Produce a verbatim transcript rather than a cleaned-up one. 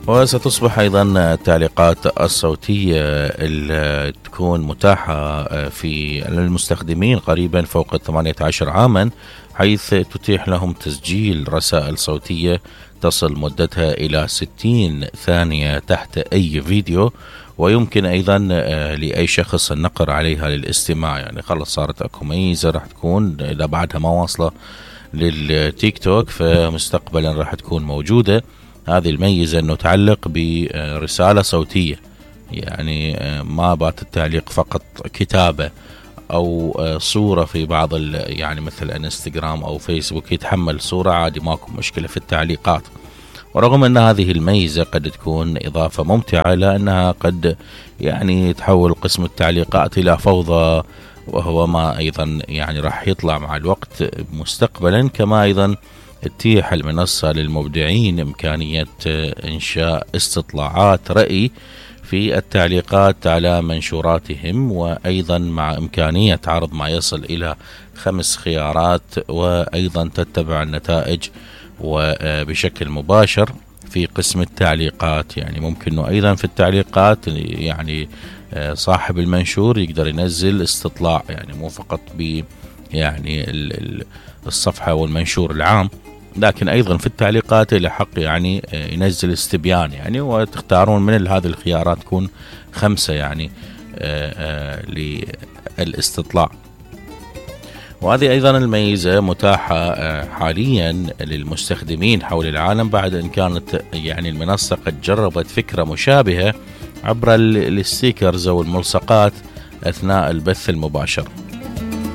وستصبح أيضا التعليقات الصوتية اللي تكون متاحة في للمستخدمين قريبا فوق ثمانية عشر عاما، حيث تتيح لهم تسجيل رسائل صوتية تصل مدتها إلى ستين ثانية تحت أي فيديو، ويمكن أيضا لأي شخص النقر عليها للاستماع. يعني خلص صارت أكو ميزة راح تكون إذا بعدها ما واصلة للتيك توك فمستقبلا راح تكون موجودة هذه الميزة، أنه تعلق برسالة صوتية، يعني ما بات التعليق فقط كتابة أو صورة في بعض يعني مثل انستغرام أو فيسبوك يتحمل صورة عادي ماكو مشكلة في التعليقات. ورغم أن هذه الميزة قد تكون إضافة ممتعة لأنها قد يعني تحول قسم التعليقات إلى فوضى، وهو ما أيضا يعني راح يطلع مع الوقت مستقبلا. كما أيضا تتيح المنصة للمبدعين إمكانية إنشاء استطلاعات رأي في التعليقات على منشوراتهم، وأيضا مع إمكانية عرض ما يصل إلى خمس خيارات، وأيضا تتبع النتائج وبشكل مباشر في قسم التعليقات. يعني ممكن أنه أيضا في التعليقات يعني صاحب المنشور يقدر ينزل استطلاع، يعني مو فقط ب يعني الصفحة والمنشور العام، لكن أيضا في التعليقات له حق يعني ينزل استبيان، يعني وتختارون من هذه الخيارات تكون خمسة يعني للاستطلاع. وهذه أيضا الميزة متاحة حاليا للمستخدمين حول العالم بعد أن كانت يعني المنصة قد جربت فكرة مشابهة عبر الستيكرز أو الملصقات أثناء البث المباشر.